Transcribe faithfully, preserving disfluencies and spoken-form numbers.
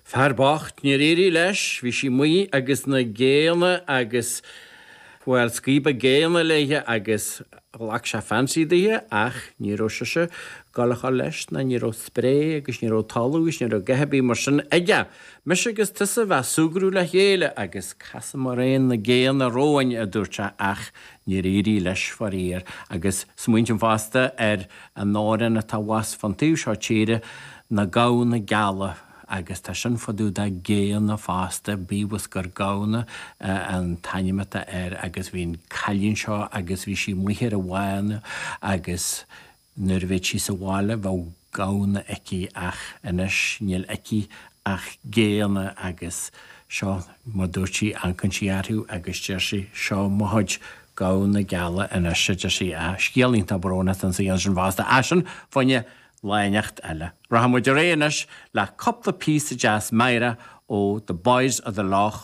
Fear bocht níor éirigh leis, bhí sí amuigh agus na géanna agus bhuel scríobadh géanna léithe agus ghlac sé fancy dithe ach ní raibh sise ag gabháil a dhul leis ná ní raibh spré agus ní raibh talamh agus ní raibh a dhath ar bith mar sin aige. Mise agus tusa a bheith ag súgradh le chéile agus casfaidh mé na géanna romhainn a dúirt sé ach níor éirigh leis faraor agus smaoiním fosta ar an amhrán atá abhus fán taobh seo tíre na gamhna geala agus tá sin fá dtaobh de géanna fosta bíodh is gur gamhna an t-ainm atá air agus bhí an cailín seo agus bhí sí amuigh ar an bhfána agus nuair a bheadh sí sa bhaile bheadh gamhna aici ach anois níl aici ach géanna agus seo mar dúirt sí amharcann sí orthu agus deir sí seo mo chuid gamhna geala anois a deir sí a scéal iontach brónach an saol sin fosta ach sin fá choinne lá inteacht eile. Rachaidh muid ar aghaidh anois le cúpla píosa deas meidhreach ó The Boys of the Lough